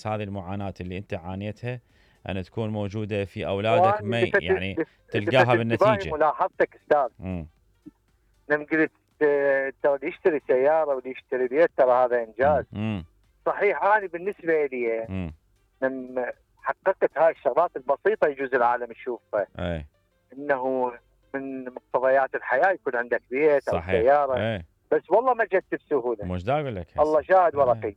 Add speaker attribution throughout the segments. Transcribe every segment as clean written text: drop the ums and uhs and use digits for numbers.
Speaker 1: نفس هذه المعاناة اللي انت عانيتها ان تكون موجودة في اولادك، ما يعني تلقاها بالنتيجة.
Speaker 2: ملاحظتك استاذ، لما قلت ترى اللي يشتري سيارة واللي يشتري بيت ترى هذا انجاز. صحيح، انا بالنسبة لي لما حققت هاي الشغلات البسيطة يجوز العالم يشوفها، انه من مقتضيات الحياة يكون عندك بيت او سيارة. بس والله ما جت بسهولة،
Speaker 1: مش دا اقول لك
Speaker 2: الله شاهد ورقي.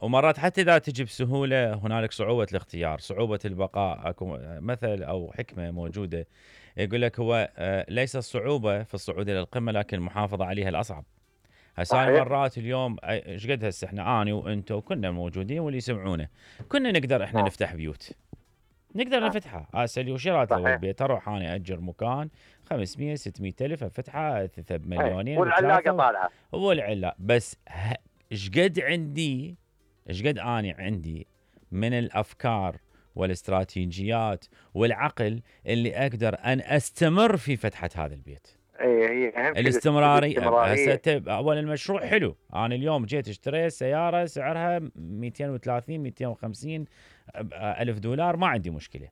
Speaker 1: ومرات حتى اذا تجي بسهوله هنالك صعوبه الاختيار، صعوبه البقاء. اكو مثل او حكمه موجوده يقول لك هو ليس الصعوبه في الصعود الى القمه لكن المحافظه عليها الاصعب. هسه مرات اليوم ايش قد هسه احنا اني وانت وكنا موجودين واللي يسمعونه كنا نقدر احنا نفتح بيوت، نقدر نفتحها. هسه اللي وشرات له البيت اروح انا اجر مكان 500 600 الف افتحها بمليونين
Speaker 2: والعلاقه طالعه
Speaker 1: والعلاقه. بس ايش قد اني عندي من الافكار والاستراتيجيات والعقل اللي اقدر ان استمر في فتحه هذا البيت.
Speaker 2: هي
Speaker 1: الاستمراريه. هسه اول المشروع حلو، انا اليوم جيت اشتريت سياره سعرها 230 250 الف دولار، ما عندي مشكله.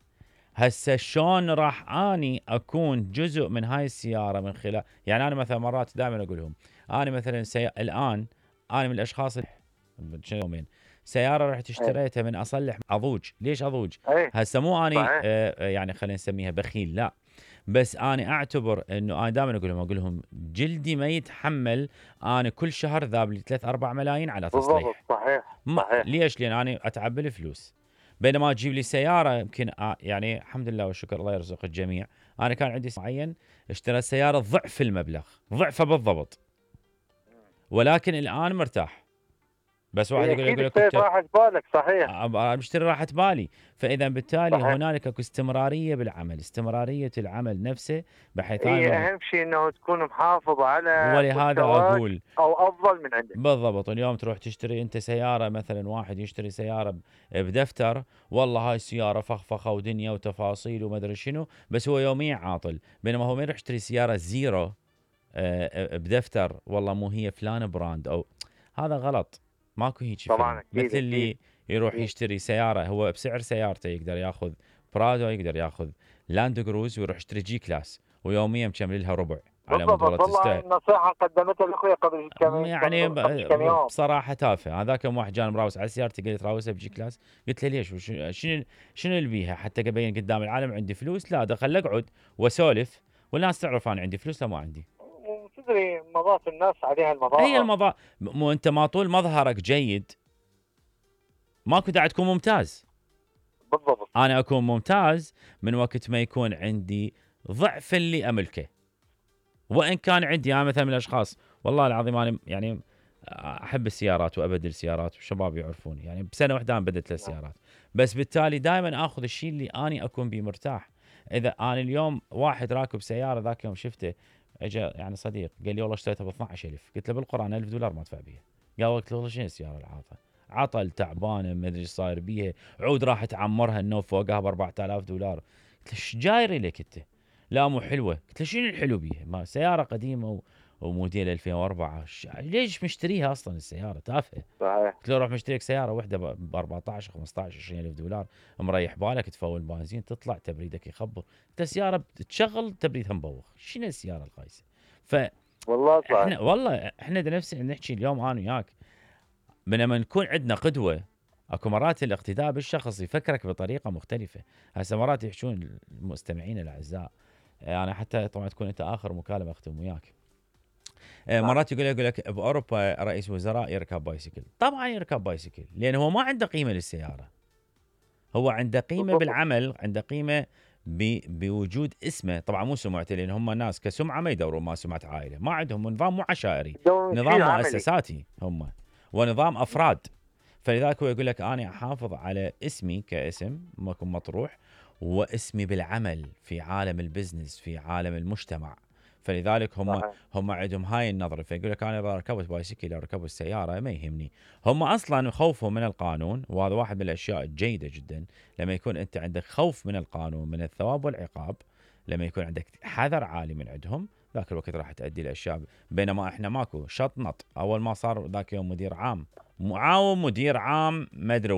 Speaker 1: هسه شلون راح اني اكون جزء من هاي السياره من خلال، يعني انا مثلا مرات دائما اقول لهم انا مثلا الان انا من الاشخاص يومين سياره رحت اشتريتها من اصلح اضوج. ليش اضوج؟ هسه مو اني يعني خلينا نسميها بخيل، لا، بس انا اعتبر انه انا دائما اقول لهم جلدي ما يتحمل انا كل شهر ذاب لي 3-4 ملايين على تصليح.
Speaker 2: صحيح.
Speaker 1: ليش؟ لان انا اتعب بالفلوس، بينما تجيب لي سياره يمكن يعني الحمد لله والشكر الله يرزق الجميع. انا كان عندي معين اشتريت سياره ضعف المبلغ، ضعفه بالضبط، ولكن الان مرتاح. بس واحد يقول
Speaker 2: لك راحت بالك. صحيح،
Speaker 1: بشتري راحة بالي. فاذا بالتالي صحيح. هنالك اكو استمراريه بالعمل، استمراريه العمل نفسه، بحيث
Speaker 2: اهم شيء انه تكون محافظ على
Speaker 1: ولهذا اقول
Speaker 2: او افضل من عندك.
Speaker 1: بالضبط. اليوم تروح تشتري انت سياره، مثلا واحد يشتري سياره بدفتر، والله هاي السياره فخفخه ودنيا وتفاصيل وما ادري شنو، بس هو يوميا عاطل. بينما هو ما يروح يشتري سياره زيرو بدفتر، والله مو هي فلان براند، او هذا غلط. ماكو هيك
Speaker 2: طبعا.
Speaker 1: مثل اللي يروح يشتري سياره هو بسعر سيارته يقدر ياخذ برادو، يقدر ياخذ لاند كروز، ويروح يشتري جي كلاس ويوميا مكمل لها ربع على مود والله
Speaker 2: تستاهل. النصيحه قدمتها لاخوي قبل كم
Speaker 1: يعني بصراحه تافه. هذاك يوم واحد جاني مراوس على سيارتي قال لي تراوسها بجي كلاس، قلت له ليش؟ شنو اللي بيها حتى ابين قدام العالم عندي فلوس؟ لا، دخل اقعد واسولف والناس تعرف انا عندي فلوس لا ما عندي.
Speaker 2: تدري مضات الناس عليها المضاء.
Speaker 1: هي المضاء، مو انت ما طول مظهرك جيد ماكو داعي تكون ممتاز.
Speaker 2: بالضبط.
Speaker 1: انا اكون ممتاز من وقت ما يكون عندي ضعف اللي املكه. وان كان عندي انا مثلا من الاشخاص والله العظيم انا يعني احب السيارات وابدل سيارات والشباب يعرفوني، يعني بسنه واحده انا بدلت 3 سيارات، بس بالتالي دائما اخذ الشيء اللي اني اكون بيه مرتاح. اذا انا اليوم واحد راكب سياره ذاك يوم شفته اجى يعني صديق قال لي والله اشتريتها ب 12000، قلت له بالقران 1000 دولار ما ادفع بيها. قال والله شنو السياره العاطله؟ عطل تعبانه ما ادري ايش صاير بيها، عود راح تعمرها النوف فوقها ب 4000 دولار. قلت له ايش جايري لك انت؟ لا مو حلوه. قلت له شنو الحلو بيها؟ ما سياره قديمه وموديل 2004، ليش مشتريها اصلا السياره تافهه؟
Speaker 2: صحيح.
Speaker 1: قلت له روح مشتريك سياره واحده ب 14 15 20 الف دولار، مريح بالك، تفول بنزين، تطلع تبريدك يخبر، انت سياره تشغل تبريدها مبوخ، شنو السياره الخايسه؟
Speaker 2: والله صحيح.
Speaker 1: احنا والله احنا نفسنا نحكي اليوم انا وياك بينما نكون عندنا قدوه. اكو مرات الاقتداء بالشخص يفكرك بطريقه مختلفه. هسه مرات يحشون المستمعين الاعزاء، انا حتى طبعا تكون انت اخر مكالمه اختم وياك. مرات يقول لك باوروبا رئيس وزراء يركب بايسكل. طبعا يركب بايسكل لان هو ما عنده قيمه للسياره، هو عنده قيمه بالعمل، عنده قيمه بوجود اسمه. طبعا مو سمعته لان هم ناس كسمعه ما يدورون ما سمعه عائله، ما عندهم نظام مو عشائري، نظام مؤسساتي هم ونظام افراد. فلذلك هو يقول لك انا احافظ على اسمي كاسم ماكو مطروح، واسمي بالعمل في عالم البزنس في عالم المجتمع. فلذلك هم عندهم هاي النظره. فيقول لك انا اذا ركبت بايسكل او ركبت السياره ما يهمني. هم اصلا خوفهم من القانون، وهذا واحد من الاشياء الجيده جدا. لما يكون انت عندك خوف من القانون من الثواب والعقاب، لما يكون عندك حذر عالي من عندهم، ذاك الوقت راح تؤدي الاشياء. بينما احنا ماكو شطنط. اول ما صار ذاك يوم مدير عام معاون مدير عام ما ادري وين